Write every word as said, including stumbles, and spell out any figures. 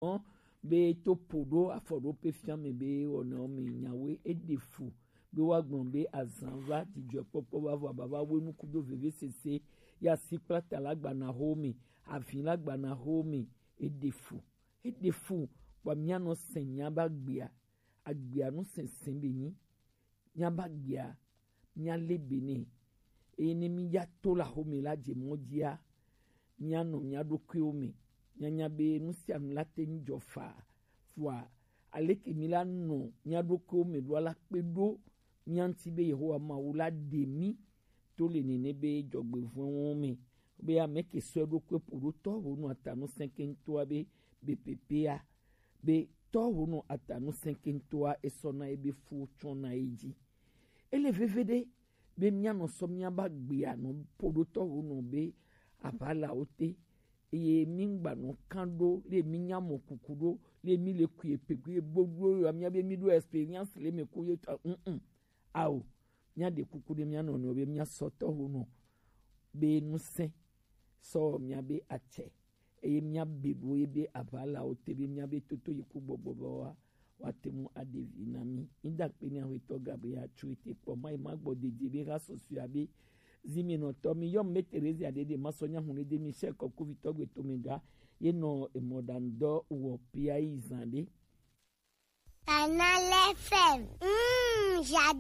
Ɔn, be to po ɖo afɔ ɖo pe fia mɛ be wɔna wo mɛ nyawe e ɖe fu be wa gblɔ be azan va, jijɔkpɔkpɔ va, vɔ ababa we nuku do veve sese ya si kpla ta la gbana ho mɛ, avi la gbana ho mɛ, e ɖe fu, e ɖe fu. Kpɔ mia nɔ sɛn mia ba gbea, agbea nu sɛnsɛn be nyi, mia ba gbea, mia le be nɛ. Eye ne mi ya to la ho mɛ la je mɔ jia, mia nɔ mia ɖokuiwo mɛ, mia nya be nu sia nu la te ŋu jɔ fa. Vɔa aleke mi la nɔ mia ɖokuiwo mɛ ɖo la kpe ɖo mia ŋuti be Yehowa Mawu la ɖe mi to le nene be jɔgbevɔnwo mɛ, be ame ke sɔ ɖokui po ɖo tɔ wo nɔ atanu sɛnkɛntɔa be be pepea, be tɔ wo nɔ atanu sɛnkɛntɔa esɔ na ye be fu tsɔ na ye ji. Ele veve ɖe be mia nɔ sɔ mia ba gbea nɔ po ɖo tɔ wo nɔ be aʋalawo te, eye mi ŋgba nɔ kan ɖo le mi nya mɔ kuku ɖo le mi le kui epe kui gbogbo ya mia be mi ɖo experience le me ko ye tɔ mm ao, mia ɖe kuku ɖe mia nɔ nɔ be mia sɔ tɔ wo nɔ be nusɛn sɔ mia be atsɛ, eye mia be ɖo ye be aʋalawo te be mia be toto yi ku gbɔgbɔ be wa wa te mu aɖe vi na mi. Mi da kpe ni ahwetɔ Gabriel Atsu ete kpɔ ma yi ma gbɔ dede be ha sɔsɔe abe zi mi nɔ tɔ mi yɔ me Teresa ɖe ɖe ma sɔ nya hun ɖe mi sɛ kɔku vitɔ gbe to mi ga ye nɔ emɔ ɖa ŋdɔ wɔ pia yi zan ɖe. Canal F M. Mm, j'adore.